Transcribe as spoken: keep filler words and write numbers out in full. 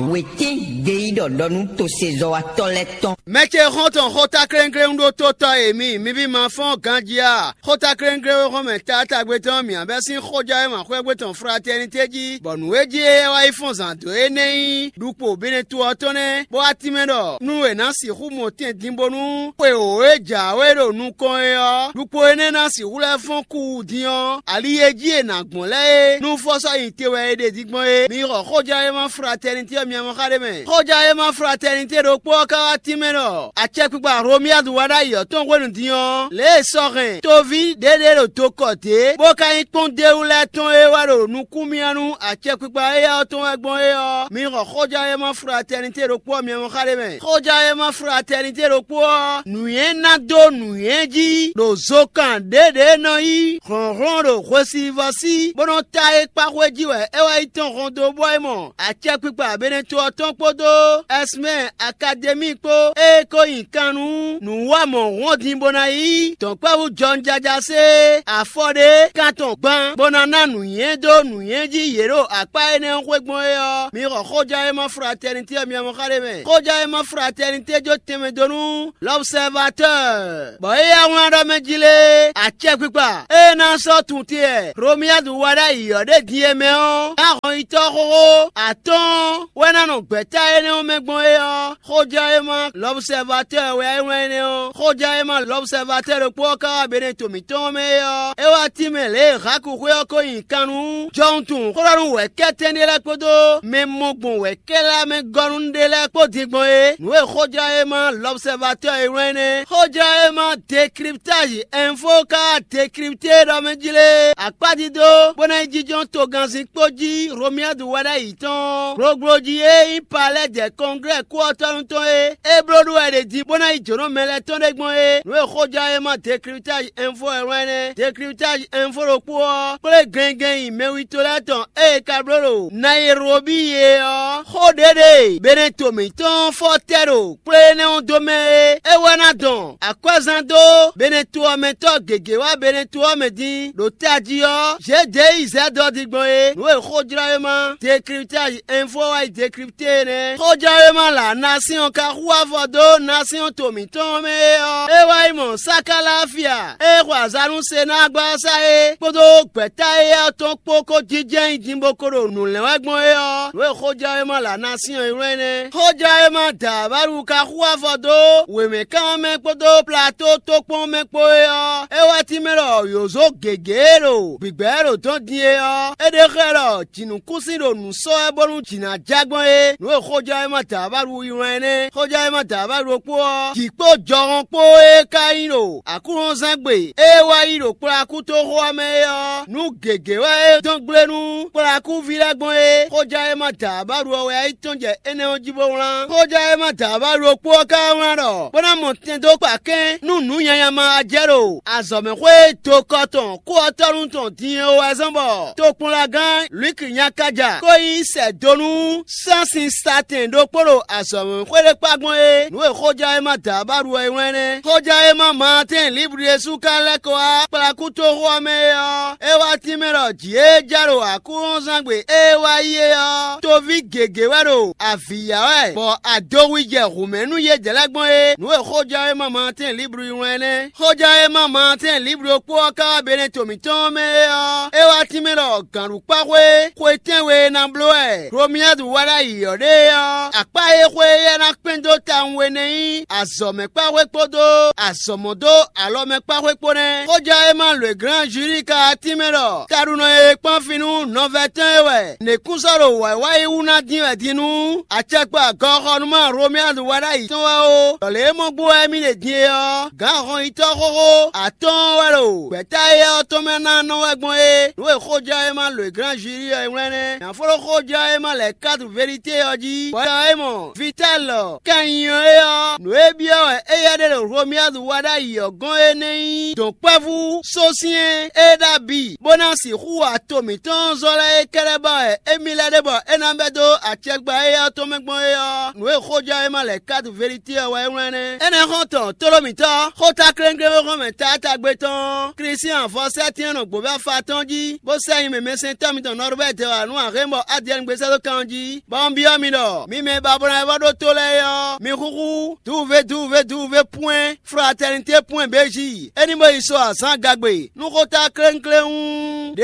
Wětín ɖe yí ɖɔ ɖɔ nú tosezɔ́watɔ́ lɛ́ɛ tɔn. Mɛ ce xɔ́ntɔn xótáklɛ́nklɛ́n ɖó tótɔ́ e mi, mi ví ma fɔ́n ganjí a? Xótáklɛ́nklɛ́n e xɔ́n mɛ taátagbe tɔn mǐ bɛ́ sín xójá e ma xwɛ́gbé tɔn fratɛ́nitɛ́ jí, bɔ nǔ e jí é wá yi fɔ́n zǎn dó é nɛ́ nyí ɖukpo Benɛto ɔ́ tɔn nɛ́, bó wá tínmɛ ɖɔ nú è nǎ sixú mɔ tɛn din bónú xwe wǒ e jǎwe ɖo nukɔn é ɔ́, ɖukpo énɛ́ ná sixú lɛ́ fɔ́n kú din ɔ́, ali e jí è nǎ gbɔn lɛ́ɛ é, nú fɔ́sɔ́ nyi te wɛ è ɖe din gbɔn é. Mi xɔ xójánwéma fratɛnitɛ́ ɔ́ miamɔ xá ɖé mɛ. Xójánwéma fratɛnitɛ́ ɖokpó ɔ́ ka wá tínmɛ ɖɔ acɛkpikpa Hlomiyadu wá ɖ'ayǐ ɔ́ tɔn hwenu din ɔ́, lě e sɔ́ hɛn toví ɖěɖě ɖo dokɔ dě, bó ka nyí kpɔ́ndéwú lɛ́ɛ tɔn e wá ɖo nukún mì nú acɛkpikpa éyɛ́ ɔ́ tɔn wɛ gbɔn é ɔ́, mi xɔ xójánwéma fratɛnitɛ́ ɖokpó ɔ́ miamɔ xá ɖé mɛ. Xójánwéma fratɛnitɛ́ ɖokpó ɔ́, nǔnywɛ́ ná dó nǔnywɛ́ jí ɖo zokan ɖěɖě nɔ yí hlɔ̌nhlɔ́n ɖo hwesivɔ́ sí, bó nɔ́ ta é kpá xwé jí wɛ é wá yi tɔn hɔn dó bɔ é mɔ acɛkpikpa Benɛto ɔ́ tɔn kpódó Ɛsmɛ Akademi kpó, ée ko nyi kan nú nǔwamɔ̌hɔn din bó ná yí dɔ̌nkpɛ́vú jɔwunjajasé afɔ ɖé kan tɔn gban, bó ná ná nǔnywɛ́ dó nǔnywɛ́ jí yě ɖo akpá énɛ́ ɔ́ xwé gbɔn é ɔ́, mi xɔ xójánwéma fratɛnitɛ́ ɔ́ miamɔ xá ɖé mɛ. Xójánwéma fratɛnitɛ́ jó tɛnmɛ dó nú l'obsɛvatɔ́ɔ, bɔ é yá wlán ɖɔ mɛ jí lé, acɛkpikpa e ná sɔ́ tuntin e Hlomiyadu wa ɖ'ayǐ ɔ́ ɖe din e mɛ ɔ́, ná hɔnyitɔ́ xóxó atɔ́ɔ́n wɛ ná nɔ gbɛ̌ta énɛ́ ɔ́ mɛ gbɔn é ɔ́, xójánwéma l'obsɛvatɔ́ɔ wɛ é wlán énɛ́ ɔ́. Xójánwéma l'obsɛvatɔ́ɔ ɖokpó ɔ́ ka wá Benɛto mǐtɔn ɔ́ mɛ é ɔ́, é wá tínmɛ lě e Haku xwé ɔ́ ko nyi kan nú jɔwuntun xó ɖɔ nú wɛ̌kɛ́tɛn ɖé lɛ́ɛ kpódó mɛ mɔ gbɔn wɛ̌kɛ́ lɛ́ɛ mɛ gɔ́ nú ɖé lɛ́ɛ kpó din gbɔn é. Nǔ e xójánwéma l'obsɛvatɔ́ɔ e wlán é nɛ́. Xójánwéma Dekriptázi Ɛnfo ka wá dekripté ɖɔ mɛ jí lé, akpádido bó ná yi jínjɔ́n togannzin kpó jí Hlomiyadu wɛ ɖ'ayǐ tɔn. Gloglo jí e nyí palɛ́ jɛ kɔnglɛ́ kú ɔ́ tɔ́ nú tɔn é, é bló ɖó wɛ ɖě din bó ná yi jǒnɔ mɛ lɛ́ɛ tɔn ɖé gbɔn é. Nǔ e xójánwéma Dekriptázi Ɛnfo wɛ wlán é nɛ́. Dekriptázi Ɛnfo ɖokpó ɔ́ kplé gɛngɛn nyi mɛwítɔ́ lɛ́ɛ tɔn ée ka bló ɖo Nayelobíi é ɔ́, xó ɖě ɖe Benɛto mǐtɔn fɔ́tɛ́ ɖo kplé énɛ́ ɔ́ dó mɛ é, é wɛ ná dɔn akwɛ́zán dó Benɛto ɔ́ mɛ tɔ́ gěgé wá Benɛto ɔ́ mɛ din ɖo tají ɔ́, Zedeyizɛ́dɔdi gbɔn é. Nǔ e xójlɔ́wéma Dekriptázi Ɛnfo wá yi dekripté é nɛ́. Xójlɔ́wéma lǎ Nasyɔ́n ka xú afɔ dó Nasyɔ́n to mǐtɔn mɛ é ɔ́, é wá yi mɔ Sakalafia e xwe azǎn nú Senágbasa é kpódó gbɛ̌ta éyɛ́ ɔ́ tɔn kpó kó jínjɛ́n nyi din bó ko ɖo nǔ lɛ́n wɛ gbɔn é ɔ́, nǔ e xójlɔ́wéma lǎ Nasyɔ́n é wlán é nɛ́. Xójlɔ́wéma da Bálu ka xú afɔ dó wěmɛkanmɛ kpódó Plato tókpɔn mɛ kpó é ɔ́, é wá tínmɛ ɖɔ yǒzo gěgé e ɖo gbǐgbɛ́ ɖo dɔn din é ɔ́, é ɖe xlɛ́ ɖɔ jǐnukúnsin ɖo nǔ sɔ́ wɛ bónú jǐ ná ja gbɔn é. Nǔ e xójlɔ́wéma da Bálu yi wlán é nɛ́. Xójlɔ́wéma da Bálu ɖokpó ɔ́, jǐ kpó jɔhɔn kpó e ka nyí ɖo Aklúnɔzángbe e wá yi ɖo kplɔ́ akútoxo ɔ́ mɛ é ɔ́, nú gěgé wɛ é dɔn gblé nú kplɔ́ akúví lɛ́ɛ gbɔn é. Xójlɔ́wéma da Bálu ɔ́ wɛ yi tɔn jɛ énɛ́ ɔ́ jí bó wlán. Xójlɔ́wéma da Bálu ɖokpó ɔ́ ka wlán ɖɔ bó ná mɔ tɛn dó kpa kɛ́n nú nǔ nyanya ma wá jɛ ɖo azɔ̌mɛxwé dokɔ tɔn kú ɔ́ tɔ́ nú tɔn din é wɛ zɔ́n bɔ tokpɔnlagán Lwiki nyakaja ko yi sɛ do nú sánsin satɛn ɖokpó ɖo azɔ̌mɛxwé ɖé kpá gbɔn é. Nǔ e xójánwéma Dǎbáɖu wɛ é wlán nɛ́. Xójánwéma Maatɛ́n Libli ɖésú ka lɛ́ kɔ wá kplakútoxo ɔ́ mɛ é ɔ́, é wá tínmɛ ɖɔ jǐ e jɛ ɖo Aklúnɔzángbe e wá yi é ɔ́, toví gěgé wɛ ɖo avǐ ya wɛ, bɔ adowi jɛ hǔmɛ nú yědɛɛ lɛ́ɛ gbɔn é. Nǔ e xójánwéma Maatɛ́n Libli wlán nɛ́. Xójánwéma Maatɛ́n Libli ɖokpó ɔ́ ka wá Benɛto mǐtɔn ɔ́ mɛ é ɔ́, é wá tínmɛ ɖɔ gǎnɖukpáxwé xwe tɛ́nwe e ná bló wɛ Hlomiyadu wá ɖ'ayǐ ɔ́ ɖe é ɔ́, akpá e xwe éyɛ́ ná kpɛ́n dó tawun we nɛ́ nyí azɔ̌mɛkpáxwé kpódó azɔ̌mɔdó alɔmɛkpáxwé kpó nɛ́. Xójánwéma Lwěglán Juli ka wá tínmɛ ɖɔ taɖunɔ e kpɔ́n fí nú nɔvɛ́ tɔn e wɛ někúnsɔ́ ɖo wǎyíwáyi wú ná dín wɛ din nú acɛkpa gɔxɔnúma Hlomiyadu wá ɖ'ayǐ tɔn wɛ ó. Ɖɔ lě e mɔ gbó wɛ émí ɖe din é ɔ́, gǎn hɔnyitɔ́ xóxó atɔ́ɔ́n wɛ ɖo gbɛ̌ta éyɛ́ ɔ́ tɔn mɛ ná nɔ wɛ gbɔn é. Nǔ e xójánwéma Lwěglán Juli ɔ́ é wlán nɛ́. Nyafló xójánwéma lɛ̌ kátu Velite ɔ́ jí, bɔ é mɔ Vitalɔ kɛnnyɔ é ɔ́, nǔ e byɔ́ wɛ éyɛ́ ɖe ɖo Hlomiyadu wá ɖ'ayǐ ɔ́ gɔ́n é nɛ́ nyí dɔ̌nkpɛ́vú sósyɛ́n e ɖo abǐ, bó ná sixú wa to mǐtɔn zɔ́ lɛ́ɛ é kɛ́ɖɛ́ ba wɛ émí lɛ́ ɖe bɔ é ná bɛ́ dó acɛkpa éyɛ́ ɔ́ tɔn mɛ gbɔn é ɔ́, nǔ e xójánwéma lɛ̌ kátu Velite ɔ́ wɛ é wlán nɛ́. Énɛ́ xɔ́ntɔn tlóló mǐtɔn, xóta kléŋkléŋ e xɔ́n mɛ taátagbe tɔn ɔ́, Klísyán vɔ sɛ́ tɛ́nnɔ gbǒvɛ́ afa tɔn jí, bó sɛ́ nyi mɛmɛsɛntɔ́ mitɔn Nɔrubɛ́ti wǎ nú Ahlɛ̌nbɔ Adiyɛ́ɛn gbézɛ́ dó kan ɔ́ jí. bɔ un byɔ́ mi ɖɔ mi mɛ e ba bó ná yi vɔ ɖó tó lɛ́ɛ é ɔ́, mi húhú duwuvé duwuvé duwuvé pwɛ́n fratɛnité pwɛ́n bějí. É ní bó yi sɔ azǎn gagbe nú xó ta klénkléwún.